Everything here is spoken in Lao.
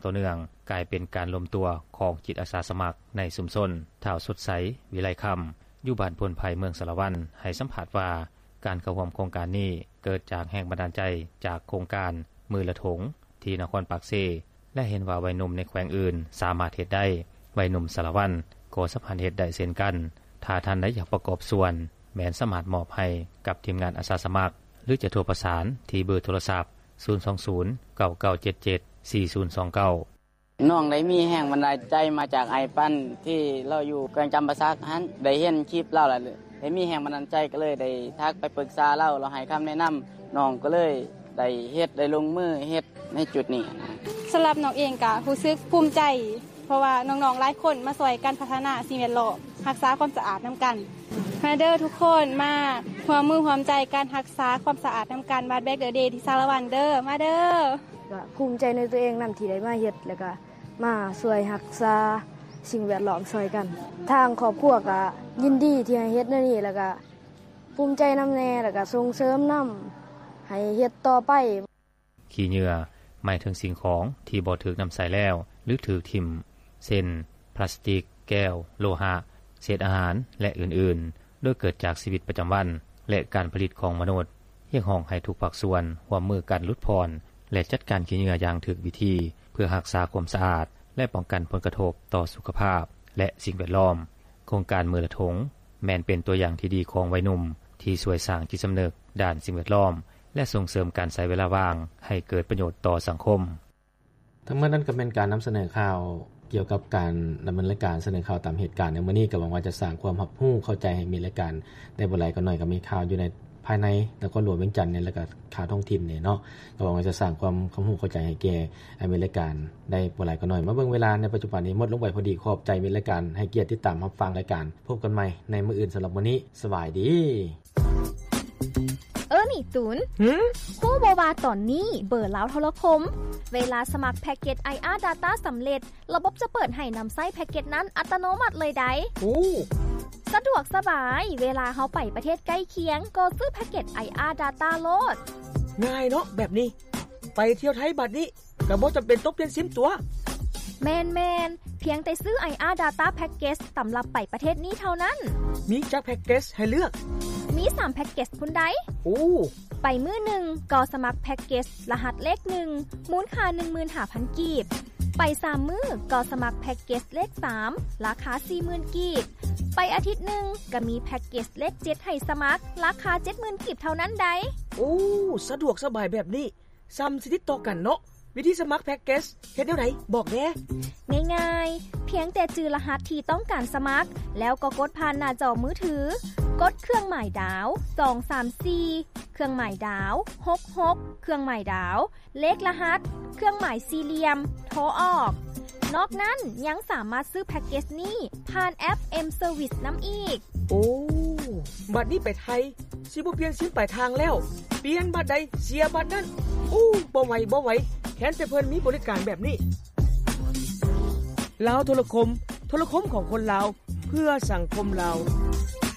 ຕໍ່ເນື່ອງ ກາຍເປັນການລວມຕົວຂອງຈິດອາສາສະໝັກໃນຊຸມຊົນ. ທ້າວ ສົດໃສ ວິໄລຄຳ ຢູ່ບ້ານໂພນໄພ ເມືອງສາລະວັນ ໃຫ້ສຳພາດວ່າ ການເຂົ້າຮ່ວມໂຄງການນີ້ເກີດຈາກແຮງບັນດານໃຈຈາກໂຄງການມືລະຖົງ ທີ່ນະຄອນປາກເຊ ແລະ ເຫັນວ່າໄວໜຸ່ມໃນແຂວງອື່ນສາມາດເຮັດໄດ້, ໄວໜຸ່ມສາລະວັນກໍສາມາດເຮັດໄດ້ເຊັ່ນກັນ. ຖ້າທ່ານໃດຢາກປະກອບສ່ວນ ແມ່ນສາມາດມອບໃຫ້ກັບທີມງານອາສາສະໝັກ ຫຼື ຈະໂທປະສານທີ່ເບີໂທລະສັບ ສູນສອງສູນ ເກົ້າເກົ້າເຈັດເຈັດ ສີ່ສູນສອງເກົ້າ. ນ້ອງໄດ້ມີແຮງບັນດານໃຈມາຈາກອ້າຍປັນ ທີ່ລາວຢູ່ແຂວງຈຳປາສັກຫັ້ນ ໄດ້ເຫັນຄລິບລາວແລ້ວ ໄດ້ມີແຮງບັນດານໃຈ ກໍເລີຍໄດ້ທັກໄປປຶກສາລາວ ລາວໃຫ້ຄຳແນະນຳ ນ້ອງກໍເລີຍໄດ້ເຮັດ ໄດ້ລົງມືເຮັດໃນຈຸດນີ້. ສຳລັບນ້ອງເອງກໍຮູ້ສຶກພູມໃຈ ເພາະວ່ານ້ອງໆຫຼາຍຄົນມາຊ່ວຍກັນພັດທະນາສິ່ງແວດລ້ອມ ຮັກສາຄວາມສະອາດນຳກັນ. ມາເດີທຸກຄົນ ມາຮ່ວມມືຮ່ວມໃຈກັນຮັກສາຄວາມສະອາດນຳກັນ One Bag a Day ທີ່ສາລະວັນເດີ ມາເດີ. ກໍພູມໃຈໃນຕົວເອງນຳທີ່ໄດ້ມາເຮັດ ແລ້ວກໍມາຊ່ວຍຮັກສາສິ່ງແວດລ້ອມຊ່ອຍກັນ. ທາງຄອບຄົວກໍຍິນດີທີ່ໃຫ້ເຮັດແນວນີ້ ແລ້ວກໍພູມໃຈນຳແດ່ ແລ້ວກໍສົ່ງເສີມນຳໃຫ້ເຮັດຕໍ່ໄປ. ຂີ້ເຫຍື້ອ ໝາຍເຖິງສິ່ງຂອງທີ່ບໍ່ຖືກນຳໃຊ້ແລ້ວ ຫຼື ຖືກຖິ້ມ ເຊັ່ນ ພລາສຕິກ, ແກ້ວ, ໂລຫະ, ເສດອາຫານ ແລະ ອື່ນໆ ໂດຍເກີດຈາກຊີວິດປະຈຳວັນ ແລະ ການຜະລິດຂອງມະນຸດ. ຮຽກຮ້ອງໃຫ້ທຸກພາກສ່ວນຮ່ວມມືກັນຫຼຸດຜ່ອນ ແລະ ຈັດການຂີ້ເຫຍື້ອຢ່າງຖືກວິທີ ເພື່ອຮັກສາຄວາມສະອາດ ແລະ ປ້ອງກັນຜົນກະທົບຕໍ່ສຸຂະພາບ ແລະ ສິ່ງແວດລ້ອມ. ໂຄງການມືລະຖົງ ແມ່ນເປັນຕົວຢ່າງທີ່ດີຂອງໄວໜຸ່ມ ທີ່ຊ່ວຍສ້າງຈິດສຳນຶກດ້ານສິ່ງແວດລ້ອມ ແລະ ສົ່ງເສີມການໃຊ້ເວລາວ່າງໃຫ້ເກີດປະໂຫຍດຕໍ່ສັງຄົມ. ທັງໝົດນັ້ນກໍແມ່ນການນຳສະເໜີຂ່າວກ່ຽວກັບການດຳເນີນລາຍການສະເໜີຂ່າວຕາມເຫດການໃນມື້ນີ້. ກໍຫວັງວ່າຈະສ້າງຄວາມຮັບຮູ້ເຂົ້າໃຈໃຫ້ມິດລາຍການໄດ້ບໍ່ຫຼາຍກໍໜ້ອຍ ກໍມີຂ່າວຢູ່ໃນພາຍໃນນະຄອນຫຼວງວຽງຈັນນີ້ ແລ້ວກໍຂ່າວທ້ອງຖິ່ນນີ້ເນາະ. ກໍຫວັງວ່າຈະສ້າງຄວາມຮັບຮູ້ເຂົ້າໃຈໃຫ້ແກ່ ໃຫ້ມິດລາຍການໄດ້ບໍ່ຫຼາຍກໍໜ້ອຍ. ມາເບິ່ງເວລາໃນປັດຈຸບັນນີ້ໝົດລົງໄປພໍດີ. ຂອບໃຈມິດລາຍການໃຫ້ກຽດຕິດຕາມຮັບຟັງລາຍການ. ພົບກັນໃໝ່ໃນມື້ອື່ນ. ສຳລັບມື້ນີ້ ສະບາຍດີ. ເອີນີ້ຕູນ, ຫື? ຮູ້ບໍ່ວ່າຕອນນີ້ເບີລາວໂທລະຄົມ ເວລາສະໝັກແພັກເກັດ ໄອອາ Data ສຳເລັດ, ລະບົບຈະເປີດໃຫ້ນຳໃຊ້ແພັກເກັດນັ້ນອັດຕະໂນມັດເລີຍໃດ໋. ໂອ້! ສະດວກສະບາຍ, ເວລາເຮົາໄປປະເທດໃກ້ຄຽງ ກໍຊື້ແພັກເກັດ ໄອອາ Data ໂລດ. ງ່າຍເນາະແບບນີ້, ໄປທ່ຽວໄທບາດນີ້ ກໍບໍ່ຈຳເປັນຕ້ອງປ່ຽນຊິມຕົວະ. ແມ່ນໆ, ພຽງແຕ່ຊື້ ໄອອາ Data Package ສຳລັບໄປປະເທດນີ້ເທົ່ານັ້ນ. ມີຈັກແພັກເກັດໃຫ້ເລືອກ? ມີສາມແພັກເກັດພຸ້ນໃດ໋. ໂອ້! ໄປມື້ໜຶ່ງກໍສະໝັກແພັກເກັດລະຫັດເລກໜຶ່ງ ມູນຄ່າໜຶ່ງໝື່ນຫ້າພັນກີບ. ໄປສາມມື້ກໍສະໝັກແພັກເກັດເລກສາມ ລາຄາສີ່ໝື່ນກີບ. ໄປອາທິດໜຶ່ງກໍມີແພັກເກັດເລກເຈັດໃຫ້ສະໝັກ ລາຄາເຈັດໝື່ນກີບເທົ່ານັ້ນໃດ໋. ໂອ້! ສະດວກສະບາຍແບບນີ້. ຊ່ຳສະໜິດຕໍ່ກັນເນາະ. ວິທີສະໝັກແພັກເກັດເຮັດແນວໃດ? ບອກແດ່. ງ່າຍໆ, ພຽງແຕ່ຈື່ລະຫັດທີ່ຕ້ອງການສະໝັກ ແລ້ວກໍກົດຜ່ານໜ້າຈໍມືຖື, ກົດເຄື່ອງໝາຍດາວ ສອງສາມສີ່ ເຄື່ອງໝາຍດາວ ຫົກຫົກ ເຄື່ອງໝາຍດາວ ເລກລະຫັດ ເຄື່ອງໝາຍສີ່ຫຼ່ຽມ ໂທອອກ. ນອກນັ້ນຍັງສາມາດຊື້ແພັກເກັດນີ້ຜ່ານແອັບ M Service ນຳອີກ. ໂອ້! ບັດນີ້ໄປໄທ ຊິບໍ່ປ່ຽນຊິມປາຍທາງແລ້ວ, ປ່ຽນບັດໃດເສຍບັດນັ້ນ. ໂອ້ ບໍ່ໄຫວ ບໍ່ໄຫວ, ແຄ້ນແຕ່ເພິ່ນມີບໍລິການແບບນີ້. ລາວໂທລະຄົມ, ໂທລະຄົມຂອງຄົນລາວ ເພື່ອສັງຄົມລາວ.